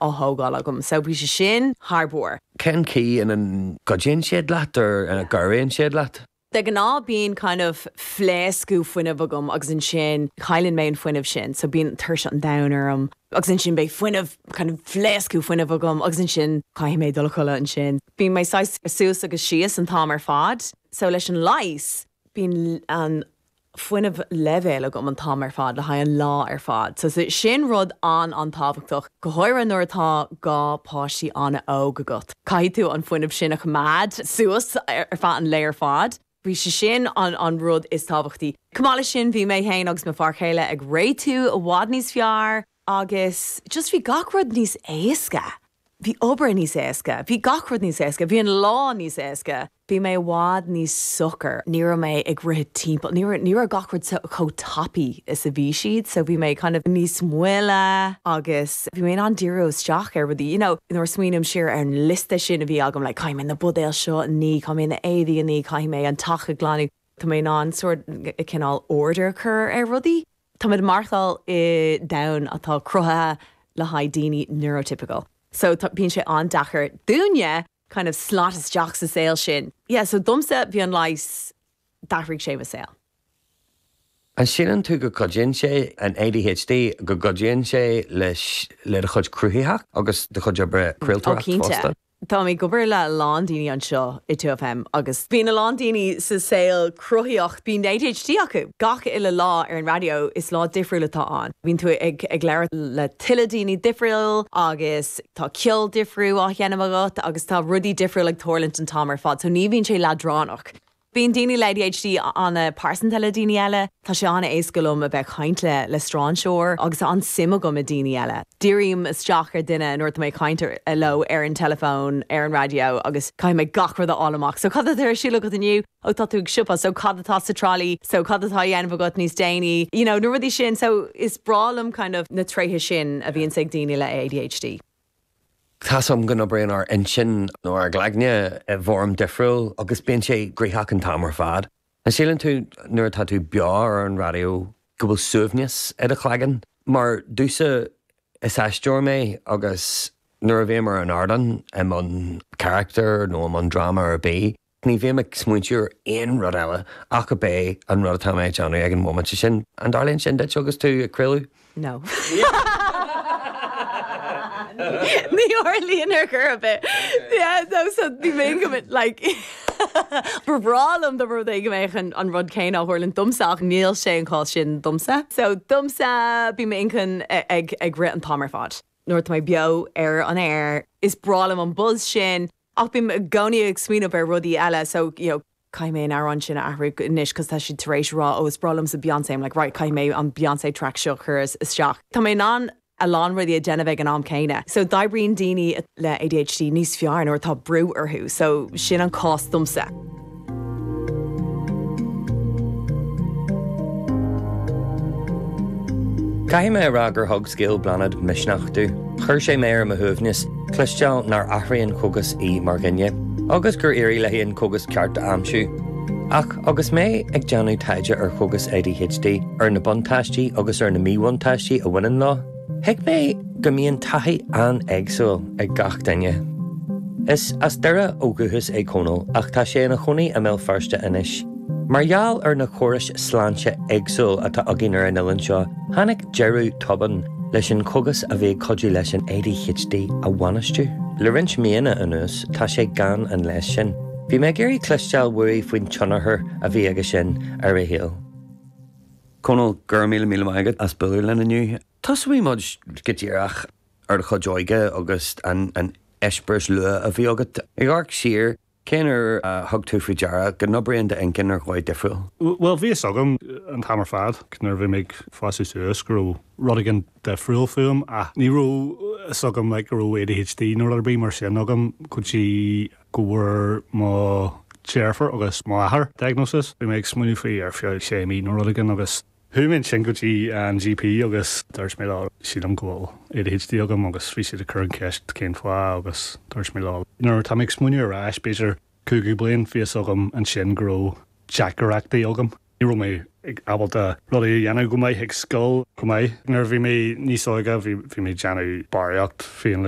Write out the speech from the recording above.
á thógáil agam so bhí sé sin thar barr. Cén chaoi ina gcuidíonn siad leat or ina gcabhraíonn siad leat? De ghnáth bíonn kind of phléascadh fuinnimh agam agus ansin cailleann mé an fuinneamh sin so bíonn tuirse an domhain orm agus ansin beidh fuinneamh kind of phléascadh fuinnimh agam agus ansin caithfidh mé dul a chodladh ansin. Bíonn mé saghas suas agus síos an t-am ar fad so leis an leigheas bíonn an fuinneamh leibhéal agam an t-am ar fad le haghaidh an lá ar fad. So sin rud an-an-tábhachtach, go háirithe nuair atá dhá páistí an-óg agat. Caithfidh tú an fuinneamh sin a choimeád suas ar feadh an lae ar fad. Bhí sé sin an an rud is tábhachtaí. Chomh maith leis sin bhí mé féin agus mo fear chéile ag réitiú i bhfad níos fearr agus just bhí gach rud níos éasca. Bhí obair níos éasca, bhí gach rud níos éasca, bhí an lá níos éasca. Bhí mé i bhfad níos socair, ní raibh mé ag rith timpeall, ní raibh, ní raibh gach rud chomh tapaidh is a bhí siad, so bhí mé kind of níos moille agus bhí mé in ann díriú isteach ar rudaí, you know, nuair a smaoiním siar ar an liosta sin a bhí agam, like caithfidh mé na buidéil seo a ní, caithfidh mé na éadaí a ní, caithfidh mé an teach a ghlanadh, tá mé in ann sort cineál order a chur ar rudaí. Táimid ag maireachtáil i domhan atá cruthaithe le haghaidh daoine neurotypical. So tá, bíonn sé an-deacair dúinne kind of slot isteach sa saol sin. Yeah, so domsa bhí an leigheas, d'athraigh sé mo saol. An síleann tú go gcuidíonn sé, an ADHD, go gcuidíonn sé leis, le do chuid cruthaitheacht agus do chuid oibre Ó craoltóireacht cinnte. fosta? Táim ag obair le a lán daoine anseo i 2FM agus bíonn a lán daoine sa saol cruthaitheach, bíonn ADHD acu. Gach uile lá ar an raidió is lá difriúil atá ann. Bíonn tú ag ag labhairt le tuilleadh daoine difriúil agus tá ceol difriúil á sheinm agat agus tá rudaí difriúil ag tarlúint an t-am ar fad so ní bhíonn sé leadránach. Bíonn daoine le ADHD an-pearsanta le daoine eile. Tá sé an-éasca liom a bheith ag caint le le strainséir agus tá an-suim agam i daoine eile. Dírím isteach ar duine nuair atá mé ag caint leo ar an teileafón, ar an raidió agus caithfidh mé gach rud a fháil amach. So cad atá ar siúl agat inniu? Oh tá tú ag siopa, so cad atá sa trolley? So cad atá á dhéanamh agat níos déanaí? You know, na rudaí sin. So is breá liom kind of na tréithe sin a bhíonns ag daoine le ADHD. Tá's agam go n-oibríonn ár intinn nó ár gcloigne i bhfoirm difriúil agus bíonn sé gnoitheach an t-am ar fad. An síleann tú nuair atá tú beo ar an raidió go bhfuil suaimhneas i do chloigeann? Mar domhsa is aisteoir mé agus nuair a bhím ar an ardán i mbun carachtair nó i mbun dráma ar bith, Ní bhím ag smaointiú ar aon rud eile ach ab é an rud atá mé ag déanamh ag an bhomaite sin. An dtarlaíonn sin duit agus tú ag craoladh? No. Ní tharlaíonn ar chor ar bith. Yeah, no, so bhí mé go like ba bhreá liom dá mba rud é go mbeadh an an rud céanna á tharlúint domsa ach níl sé an cás sin domsa. So domsa bíonn m'inchinn ag ag rith an t-am ar fad. Nuair atá mé beo ar an aer is breá liom an buzz sin. Ach bím i gcónaí ag smaoineamh ar rudaí eile so, you know, caithfidh mé an amhrán sin a athrú anois cos tá siad tar éis rá oh is breá liomsa Beyoncé, I'm like right caithfidh mé an Beyoncé track seo a chur isteach. Tá mé in ann a lán rudaí a dhéanamh ag an am céanna. So d'oibríonn daoine le ADHD níos fearr nuair atá brú orthu so sin an cás domsa. Caithfidh mé a rá gur thug scéal Bláthnaid misneach domh. Chuir sé mé ar mo shuaimhneas cloisteáil nár athraigh an cógas í mar dhuine, agus gur éirigh léi an cógas ceart a aimsiú. Ach agus mé ag déanamh taighde ar chógas ADHD, ar na buntáistí agus ar na míbhuntáistí a bhaineann leo, Thuig mé go mbíonn taithí an-éagsúil ag gach duine. Is as Doire ó dhúchas é Cónall ach tá sé ina chónaí i mBéal Feirste anois. Mar gheall ar na córais sláinte éagsúil atá againn ar an oileán seo, tháinig deireadh tobann leis an chógas a bhí ag cuidiú leis an ADHD a bhainistiú. Le roinnt míonna anuas tá sé gan an leigheas sin. Bhí mé ag iarraidh cloisteáil uaidh faoin tionchar a bhí aige sin ar a shaol. Conall, go raibh míle míle maith agat as bualadh linn inniu. Tosóidh muid go díreach ar do chuid óige agus an eispéireas luath a bhí agat. Ag amharc siar, cén uair a thug tú faoi deara go n-oibríonn d'inchinn ar dhóigh difriúil? Bhuel, bhí fhios agam an t-am ar fad nuair a bhí mé ag fásadh suas go raibh rud éigin difriúil fúm ach ní raibh fhios agam like go raibh ADHD nó rud ar bith mar sin agam go dtí go bhfuair mo dheirfiúr agus mo athair diagnosis. Bhí mé ag smaoineamh faoi ar feadh sé mí nó rud éigin agus chuaigh mé ansin go dtí an GP agus dúirt mé leo sílim go bhfuil ADHD agam agus bhí siad ag cur an ceist cén fáth agus dúirt mé leo nuair atá mé ag smaoineamh ar ais b'fhéidir cúigiú bliain bhí fhios agam ansin go raibh deacrachtaí agam. Ní raibh mé ag ábalta rudaí a dhéanamh go maith ag scoil chomh maith. Nuair a bhí mé níos óige bhí mé ag déanamh barraíocht féinleigheas.